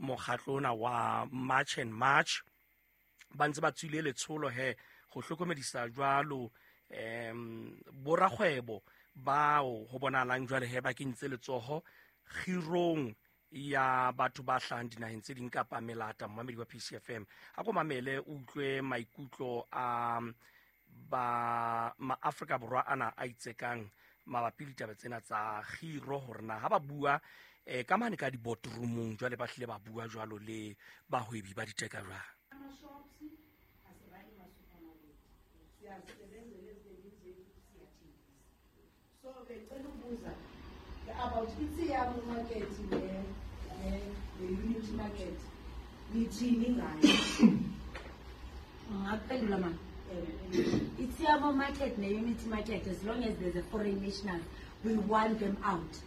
Mokgatlo ona wa March and March ba ntse ba tswile letsholo he go hlokomedisa jwalo borakgwebo bao ho bonahalang jwale he ba kentse letsoho kgirong ya batho ba hlahang dinaheng tse ding kapa melata. Momamedi wa PCFM, a ko mamele o utlwe maikutlo a ba maAfrika Borwa ana a itsekang mabapi le ditaba tsena tsa kgiro, hore na ha ba bua ka mane ka di-boardroomong jwale ba hlile ba bua jwalo le bahwebi ba diteka jwang. So bengicela ukubuza about iTshiamo Market ne-Unity Market, nithini ngayo? Ngingakuphendula ma. iTshiamo Market ne-Unity Market, as long as there's a foreign national, we want them out.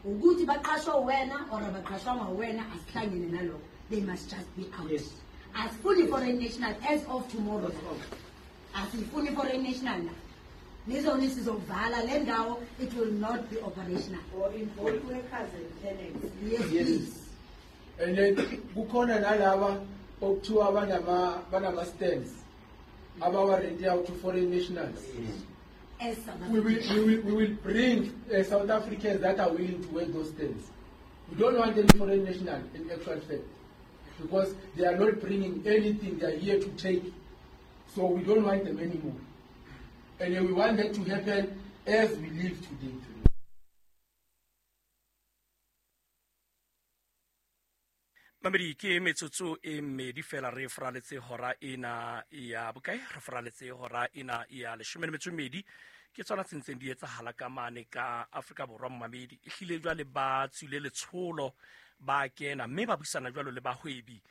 Ukuthi baqashwe wena or abaqashwanga wena, asihlangene nalokho, they must just be out. Asifuni foreign national as of tomorrow, asifuni foreign national la nizoni, sizovala le ndawo, it will not be operational. Or in both workers and tenants? Yes. Yes. Please. And then kukhona nalaba okuthiwa banama stands abawa-rent out to foreign nationals. As South We will bring South Africans that are willing to work those stands. We don't want any foreign national, in actual fact, because they are not bringing anything. They are here to take. So we don't want them anymore. And we want that to happen as we live today. Mamedi, ke metsotso e mmedi fela re foraletse hora ena ya bokae? Re foraletse hora ena ya 12. Ke tsona tse ntseng di etsahala ka mane ka Afrika Borwa. Momamedi, ehlile jwale ba tswile letsholo, ba kena mme ba buisana jwalo le bahwebi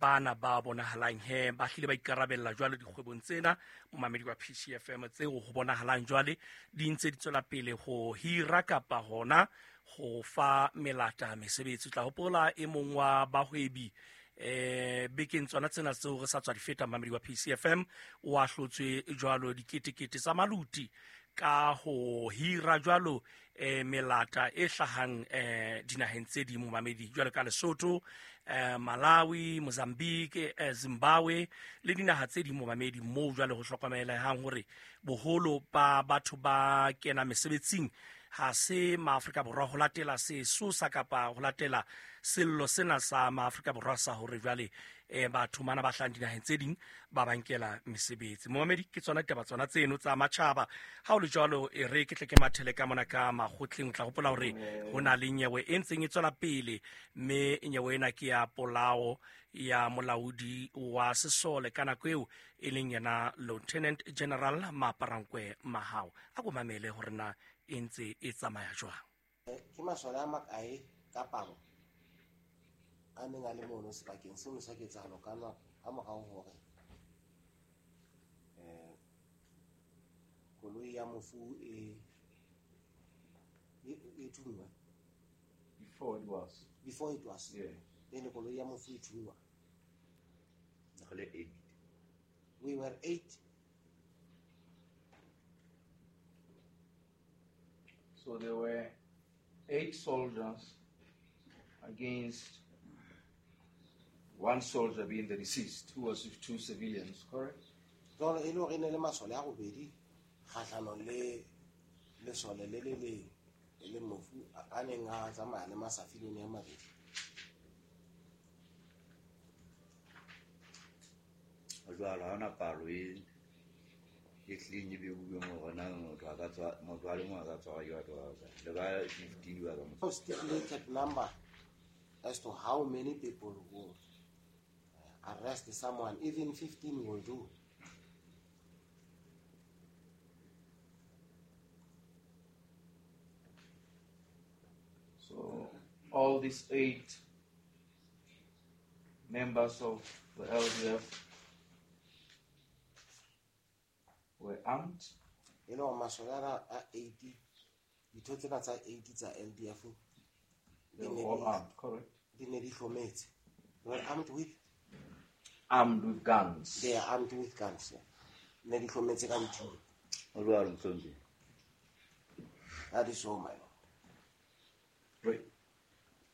bana ba bonahalang he ba hlile ba ikarabella jwalo dikgwebong tsena, momamedi wa PCFM, tseo ho bonahalang jwale di ntse di tswela pele ho hira kapa hona ho fa melata mesebetsi. O tla hopola e mong wa bahwebi bekeng tsona tsena tseo re sa tswa di feta, momamedi wa PCFM, o ahlotswe jwalo diketekete tsa maluti ka ho hira jwalo melata e hlahang dinaheng tse ding, momamedi, jwalo ka Lesotho, Malawi, Mozambique, Zimbabwe le dinaha tse ding, momamedi, moo jwale ho hlokomelehang hore boholo ba batho ba kena mesebetsing ha se maAfrika Borwa, ho latela sesosa kapa ho latela sello sena sa maAfrika Borwa sa hore jwale batho mana ba hlahang dinaheng tse ding ba bankela mesebetsi. Momamedi, ke tsona ditaba tsona tseno tsa matjhaba. Ha o le jwalo, e re ke tle ke mathele ka mona ka makgotleng. O tla hopola hore ho na le nyewe e ntseng e tswela pele, mme nyewe ena ke ya polao ya molaodi wa sesole ka nako eo, e leng yena Lieutenant General Maaparankoe Mahao. A ko mamele hore na e ntse e tsamaya jwang. Ke masole a makae ka palo a neng a le mono sebakeng seno sa ketsahalo ka nako ha morao hore koloi ya mofu e thunngwe? Before it was. Before it was. Yeah. Pele koloi ya mofu e thunngwa. Re le 8. We were 8. So there were 8 soldiers against one soldier being the deceased, who was with 2 civilians, correct? Jwale e le hore e ne le masole a robedi kgahlanong le lesole le le leng, e le mofu, a neng a tsamaya le masafilone a mabedi. Jwale ha hona palo e hlileng e beuweng hore na motho a ka tswa, motho a le mong a ka tshwarwa ke batho ba bakae. Le ba 15 ba ka mo. No stipulated number as to how many people will arrest someone. Even 15 will do. So all these 8 members of the LDF were armed. E le hore masole ana a 80, ditho tsena tsa 80 tsa LDF, They were all armed, correct? di ne di hlometse. They were armed with? Armed with guns. They are armed with guns. Yeah. Ne di hlometse ka dithunya. O jwalo, Mhlonti. That is so, my lord. Great.